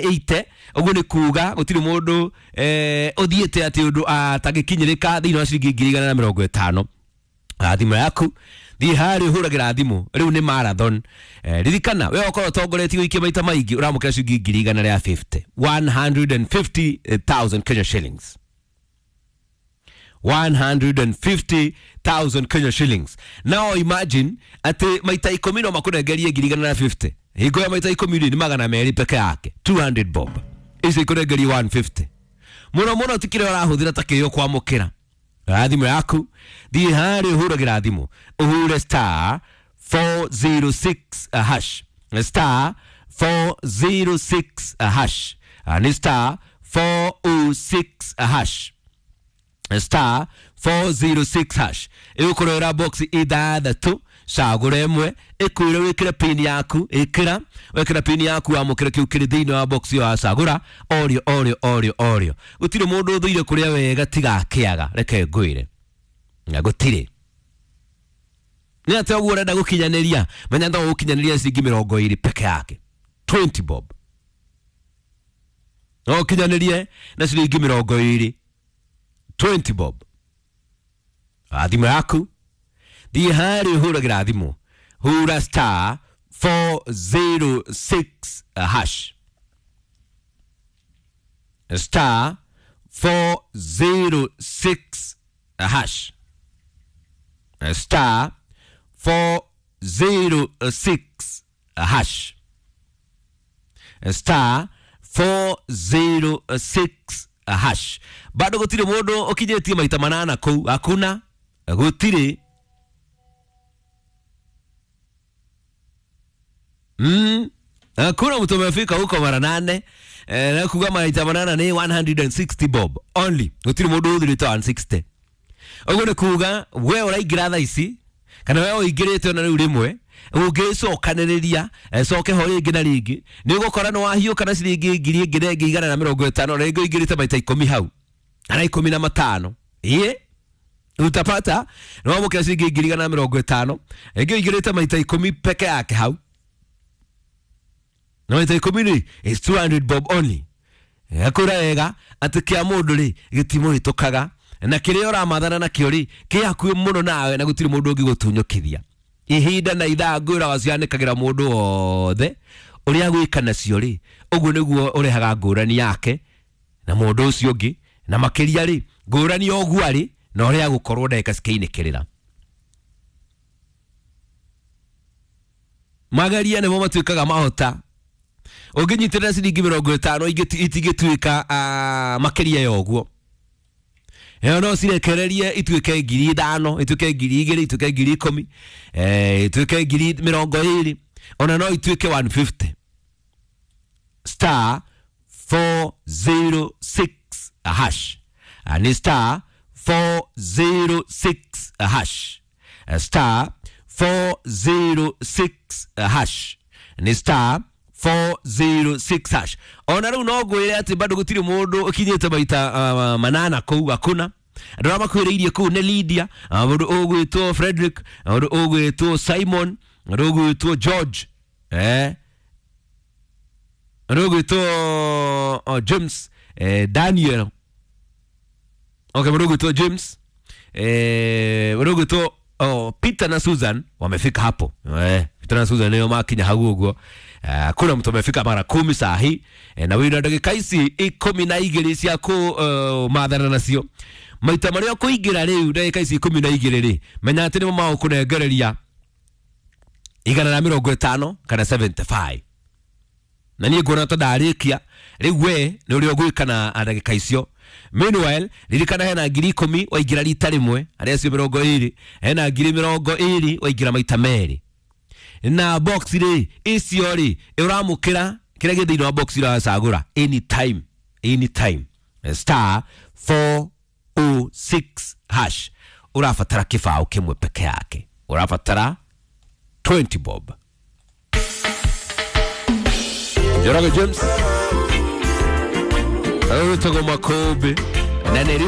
180 uguo nĩ kuga gũtirĩ mũndũ ũthiĩte atĩ ũndũ atangĩkinyĩrĩka thĩinĩ wa ciringi 150. Thimũ yaku thiĩ harĩa ũhũragĩra thimũ rĩu nĩ marathon. Ririkana we okorwo ũtongoretie gũikia maita maingĩ ũramũkĩra ciringi 150, 150,000 Kenya shillings, 150,000 Kenya shillings. Now imagine atĩ maita 10 no makũnengerie 150. Hingo ya maita 10 rĩ nĩ 200 peke yake, 200 bob. Ici ikũnengerie 150. Mũno mũno ti kĩrĩa ũrahũthĩra ta kĩo kwamũkĩra. Thimũ yaku thiĩ harĩa ũhũragĩra thimũ ũhure star 406 hash, star 406 hash, nĩ star 406 hash, star 406 hash. Ĩgũkũrehera box ithathatũ, cagũra ĩmwe, ĩkwĩre wĩkĩre pin yaku, ĩkĩra, wekĩra pin yaku wamũkĩra kĩu kĩrĩ thĩinĩ wa box ĩyo wacagũra, orio orio orio orio. Gũtirĩ mũndũ ũthũire kũrĩa wega tiga akĩaga, reke ngwĩre na gũtirĩ. Nĩ atĩa ũguo ũrenda gũkinyanĩria? Menya no gũkinyanĩria ciringi 20 peke yake, 20 bob. No ũkinyanĩrie na ciringi 20, 20 bob. Thimũ yaku thiĩ harĩa ũhũragĩra thimũ hura star 406 hash, star 406 hash, star 406 hash, star 406 hash. Bado gũtirĩ mũndũ ũkinyĩtie maita manana kũu, hakuna, gũtirĩ. Hakuna mtu amefika huko mara 8. Na kuga maita manana ni 160 bob only. Gũtirĩ mũndũ ũthirĩte 160. Ũguo nĩ kuga we ũraingĩra thaa ici kana we ũingĩrĩte ona rĩu rĩmwe ũngĩcokanĩrĩria coke ho rĩngĩ na rĩngĩ nĩ ũgũkora nĩ wahiũka na ciringi 1,150 na rĩngĩ ũingĩrĩte maita 10 hau kana 15. Ĩĩ utapata nĩ wamũkĩra ciringi 150 rĩngĩ ũingĩrĩte maita 10 peke yake hau na maita 10 rĩ is 200 bob only. Akũra wega atĩ kĩa mũndũ rĩ gĩtimũhĩtũkaga na kĩrĩa ũramathana nakĩo rĩ kĩ hakuhĩ mũno nawe na gũtirĩ mũndũ ũngĩgũtunyũkithia. Ihinda na ithaa ngwĩra wacianĩkagĩra mũndũ wothe ũrĩa gwĩka nacio rĩ ũguo nĩguo ũrehaga ngũrani yake na mũndũ ũcio ũngĩ, na makĩria rĩ ngũrani ũguo arĩ na ũrĩa agũkorwo ndagĩka cikĩinĩkĩrĩra. Mageria nĩmo matuĩkaga mahota. Ũngĩnyitĩrĩra ciringi 50 itingĩtuĩka makĩria ya ũguo. Ĩyo no cirekererie ituĩke 5,000, ituĩke 2,000, ituĩke 10,000, ituĩke 20,000, ona no ituĩke 150. Star 406 hash. Ni star 406 hash, star 406 hash, ni star 406 hash. Ona rĩu no ngwĩre atĩ bado gũtirĩ mũndũ ũkinyĩte maita manana kũu, hakuna. Andũ arĩa makwĩrĩirie kũu nĩ Lydia, mũndũ ũgwĩtwo Frederick, mũndũ ũgwĩtwo Simon, mũndũ ũgwĩtwo George, mũndũ ũgwĩtwo James, Daniel. Okay, mũndũ ũgwĩtwo James, mũndũ ũgwĩtwo Peter na Susan wamefika hapo. Peter na Susan nĩo makinya hau ũguo. Kuna mtu amefika mara 10 saa hii, na wĩna ndagĩka ici 12 cia kũ mathana nacio maita marĩa ũkũingĩra rĩu ndagĩka ici 12 rĩ menya atĩ nĩmo magũkũnengereria 150 kana 75. Na niĩ nguona ta ndarĩkia rĩu we nĩ ũrĩa ũgwĩka na ndagĩka icio. Meanwhile ririkana hena 10,000 waingĩra rita rĩmwe, arĩa acio 20, hena 20,000 waingĩra maita merĩ. Na box rĩ icio rĩ ũramũkĩra kĩrĩa gĩ thĩinĩ wa box ũracagũra anytime, anytime. Star 406 hash. Ũrabatara kĩbaũ kĩmwe peke yake, ũrabatara 20 bob. Njoroge James Arutagwo Makobe na nĩ